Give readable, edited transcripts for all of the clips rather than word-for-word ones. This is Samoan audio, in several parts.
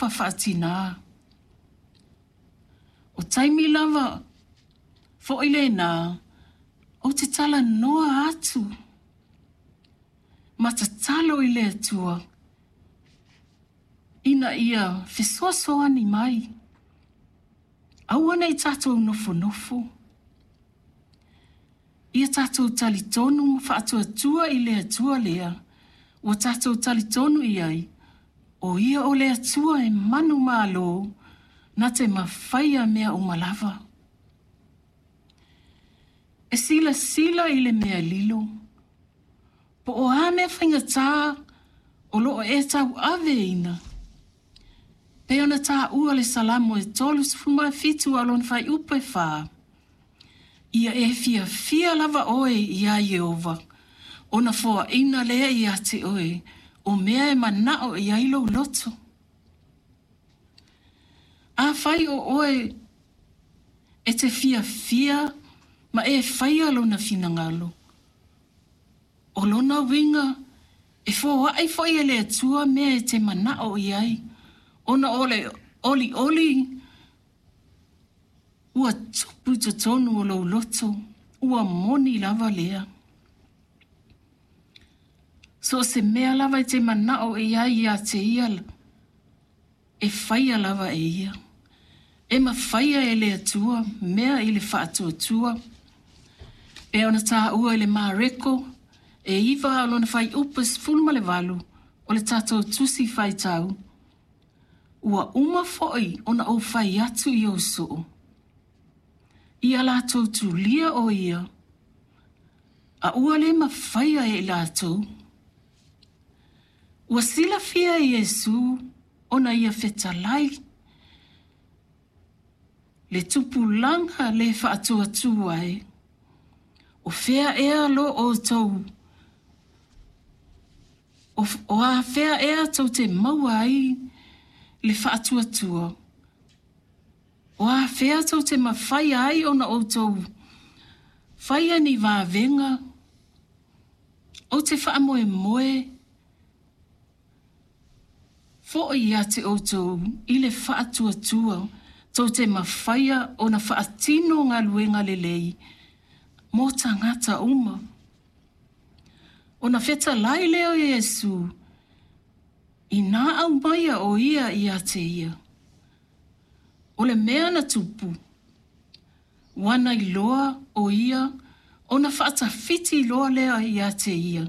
alofa faatinā. O taimi lava foʻi lenā ou te talanoa atu ma tatalo i le Atua ina ia fesoasoani mai. Aua ne i tatou nofonofo. Ia tatou talitonu ma faatuatua i le Atua lea ua tatou talitonu i ai, o Ia o le Atua e manumalo na te mafaia mea uma lava. E silasila i le mea lilo, po o a mea faigata o lo o e tauaveina, pei ona taua le Salamo e 37 a o lona fuaiupu e 4, Ia e fiafia lava oe iā Ieova, ona foaina lea ia te oe o mea e manao i ai lou loto. Afai o oe e te fiafia ma e faia lona finagalo, o lona uiga e foai foi e le Atua mea e te manao i ai, ona o le olioli ua tupu i totonu o lou loto, ua moni lava lea. So o se mea lava e te manao i ai ia te ia, e faia lava e ia. E mafaia e le Atua mea i le faatuatua. E ona taua i le Mareko e 9 a o lona fuaiupu e 18 o le tatou tusi faitau. Ua uma foi ona ou fai atu i ou soo. Ia latou tulia o ia, a ua le mafaia e i latou. Ua silafia e Iesu ona ia fetalai le tupulaga le faatuatua e. O fea ea lo outou o a fea ea tou te maua ai le faatuatua? O a fea tou te mafaia ai ona outou faia ni vavega? Ou te faamoemoe foʻi ia te outou i le faatuatua tou te mafaia ona faatino galuega lelei mo tagata uma. Ona fetalai lea o Iesu, inā aumaia o ia ia te ia. O le mea na tupu, ua na iloa o ia ona faatafiti loa lea ia te ia,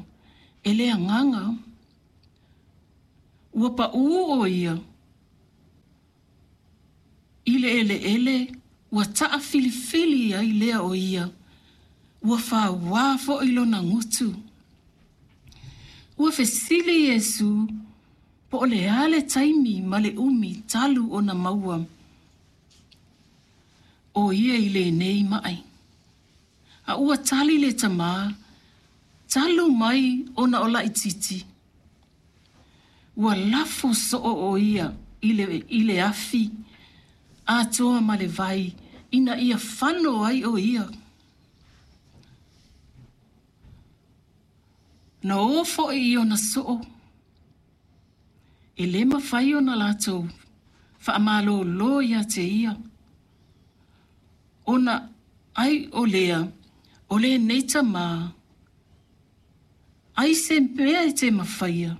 e le agaga. Ua paū o ia i le eleele ua taafilifili ai lea o ia, ua fauā foʻi lona gutu. Ua fesili Iesu po o le a le taimi ma le umi talu ona maua o ia i lenei mai. A ua tali le tamā, talu mai ona o laititi. Ua lafo soo o ia i le afi atoa ma le vai ina ia fano ai o ia. Na o foʻi i ona soo, e le mafai ona latou faamalōlō ia te ia. Ona ai o lea, o lenei tamā, ai se mea e te mafaia.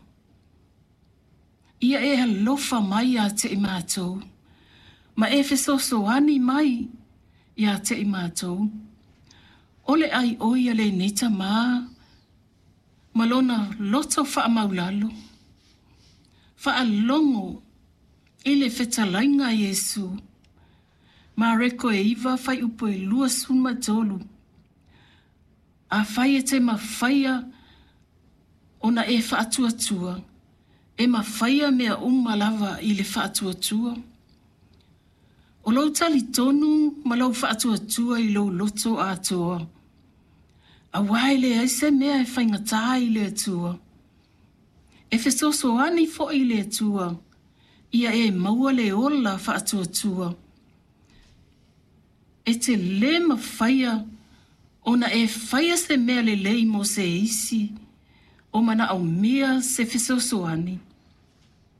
Ia e alofa mai ia te i matou, ma e fesoasoani mai ia te i matou. O le ai o ia lenei tamā, ma lona loto faamaulalo. Faalogo i le fetalaiga a Iesu. Mareko e 9 fuaiupu e 23. Afai e te mafaia ona e faatuatua, e mafaia mea uma lava i le faatuatua. O lou talitonu ma lou faatuatua i lou loto atoa. Auā e leai se mea e faigata i le Atua. E fesoasoani foʻi le Atua ia e maua le ola faatuatua. E te lē mafaia ona e faia se mea lelei mo se isi o manaomia se fesoasoani.